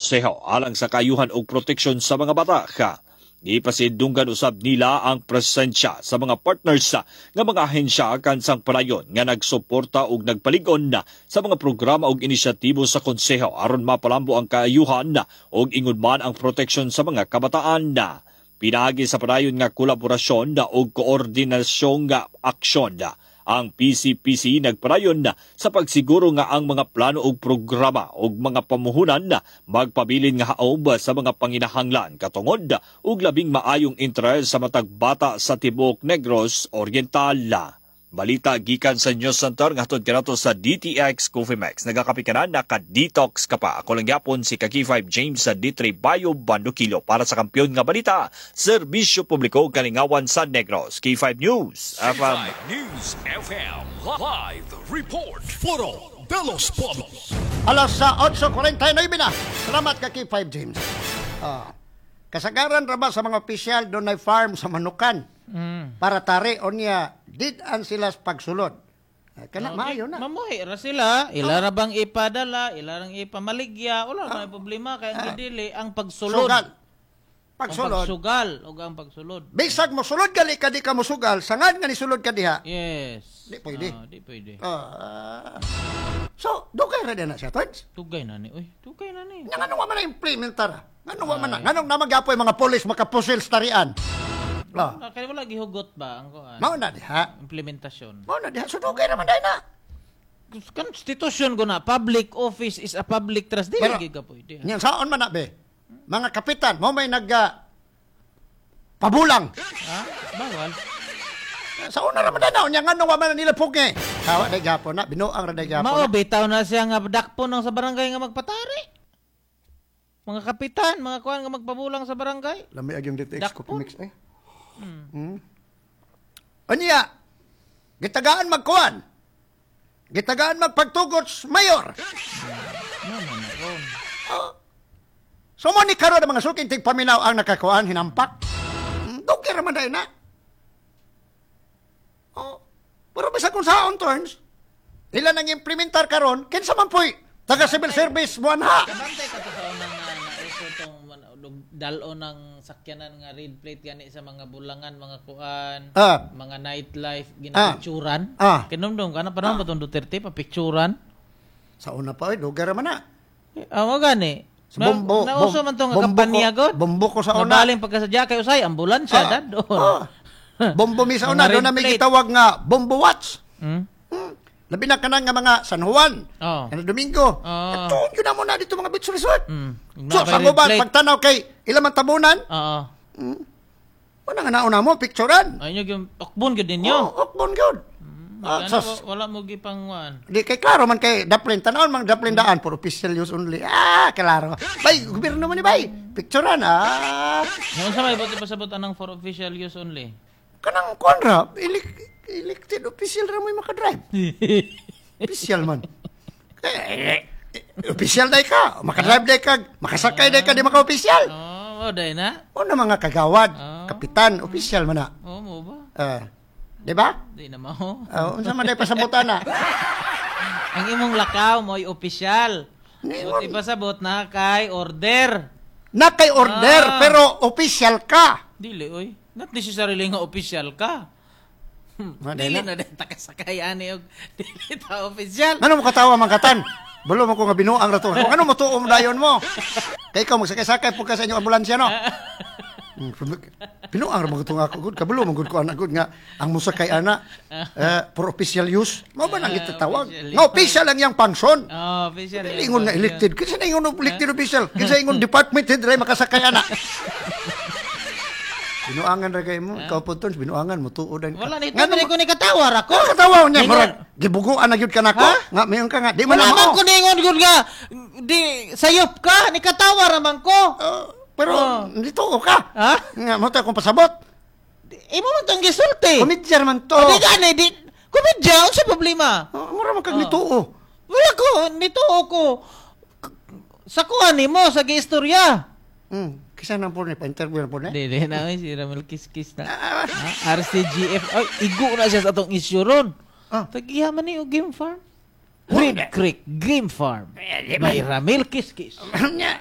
konseho alang sa kaayuhan ug proteksyon sa mga bata. Gipasidunggan usab nila ang presensya sa mga partners nga mga ahensya kansang palayon nga nagsuporta ug nagpalig-on na sa mga programa ug inisyatibo sa konseho aron mapalambo ang kaayuhan ug ingon man ang proteksyon sa mga kabataan na. Pinaagi sa padayon nga kolaborasyon ug koordinasyong nga aksyon, ang PCPC nagpadayon na sa pagsiguro nga ang mga plano ug programa ug mga pamuhunan na magpabilin nga haob sa mga panginahanglan, katungod ug labing maayong interes sa matag bata sa tibuok Negros Oriental. Balita gikan sa News Center nga hatod kanato sa DTX Coffee Max. Nagakape ka na, naka-detox ka pa. Ako lang gyapon si Ka-K5 James sa D3 Bayo Bandukilo para sa kampiyon nga balita. Serbisyo publiko, kalingawan sa Negros. K5 News FM. K5 News FM. Live Report. Foro de los Pueblos. Alas sa 8:49 na. Salamat ka, K5 James. Kasagaran ra ba sa mga opisyal doon ay farm sa Manukan para tari onya did-an sila sa pagsulod. Kana maayo na. Mamuhi ra sila, ila ra bang ipadala, ila rang ipamaligya, wala may problema kay ang gidili ang pagsulod. Sugal. Ang Pagsulod. pagsugal ug ang pagsulod. Bisag mo sulod gali ka, di ka mosugal, sangad nga nisulod ka diha. Yes. Di pwede. Ah, di pwede. So, dugay ra na siya, Tons. Tugay na ni. Uy, tugay na ni. Nga nganong wa man na implementar? Nganong wa man na? Nganong namagyapoy mga pulis makapusil sa tarian? Ah, Ah, kaya wala gihugot ba ang kuan? Mao na diha. Implementasyon. Mao na diha. So, dugay ra man dai na. Constitution ko na, public office is a public trust. Dili Pero- gyud ka pwede. Nya saon man na be? Mga kapitan, mo may nag pabulang. Ha? Bawal. Sa una ra man dai na, unya nganong wa man na nila pugi? Hawa dai gyapon na, binuang ra dai gyapon Mao na. bitaw na siya nga dakpo ng sa barangay nga magpatari. Mga kapitan, mga kuan nga magpabulang sa barangay. Lami ag yung DTX Dakpon. Coffee Mix eh. Unya, gitagaan magkuan. Gitagaan magpagtugot sa mayor. Oh. So mo ni karon ang mga suking tigpaminaw ang nakakuan hinampak. Dugay ra man dai na. Oh. Pero bisag kung saon, turns, ila nang implementar karon, kinsa man poy taga civil service buwan ha. Kabantay ka to sa unang nga nauso tong dal-o ng sakyanan nga red plate gani sa mga bulangan, mga kuan, mga nightlife, ginapicturan. Kinumdum ka na panahon ba tong Duterte papicturan? Sa una pa oy, dugay ra man na. Eh, mo gani. Sa bombo, Nauso man tong bombo kampanya ko, god. bombo ko sa una. Nabaling pagkasadya kay usay ambulansya dadon. Bombo mi sa una, Mga doon na red may plate. gitawag nga Bombo Watch. Labi na kanang nga mga San Juan, kana Domingo. Oh. Atuon yun na muna dito mga beach resort. So, Nabay sa red uban, plate. pagtanaw kay ilang man tabunan, Oo. wala nga nauna mo, picturean. Ay inyo gyud okbon gyud ninyo. Oh, okbon gyud. Ano, Sas, wala mo gipangwan. di kay klaro man kay daplin tanawon mang daplin daan for official use only. Ah, klaro. Bay, gobyerno man ni bay. Picturean ah. Ngayon sa may buti pasabot anang for official use only. Kanang kuan ra, elected official ra mo'y makadrive. Official man. Eh, official day ka, makadrive day ka, makasakay day ka, di maka-official. Oh, oh day na. Una mga kagawad, Ah. kapitan, official man na. Oh, mo ba? Di ba? Di na mao. Unsa man day pasabutan na? Ang imong lakaw mo'y opisyal. Ningon. Buti pasabot na kay order. Na kay order, pero official ka. Dili oy. Not necessarily nga opisyal ka. Ma, day Dili na. na din takasakay ani og dili ta opisyal. Ngano mo katawa man katan? Bulo mo ko nga binuang ra to. Kung ano mo tuom dayon mo? Kay ikaw magsakay-sakay pud ka sa inyong ambulansya no. Binuang ra man ko ako gud, kabulo man gud ko anak gud nga ang musakay ana for official use. Mao ba nang gitawag? Official. Nga official lang yang function. Oh, official. Dili ingon nga elected. Kinsa na ingon elected official? Kinsa ingon department head ra makasakay ana? Binuangan ra kay mo, ikaw po tons, binuangan mo tuod ka. Wala ni Ngano ito ko ni katawar ako. Nga katawa niya, Ningon. murag gibuguan na gyud ka nako. Ha? Nga mayon ka nga, di man Wala na man mao. ko ningon gud nga di sayop ka ni katawar naman ko. Pero dito ka. Ha? Nga mo ta akong pasabot. Imo man tong gisulti. Komedya man to. Di gani di komedya unsa problema? Oh, mura man kag nituo. Wala ko nito ko. Sa kuan nimo sa giistorya. Kisa nang po ni pa-interview na po ni. Di di na oy, si Ramel Kiskis na. Ah, RCGF ay igo na siya sa atong issue ron. Tagiha man ni og game farm. Red Creek Game Farm by Ramil Kiskis. Nya,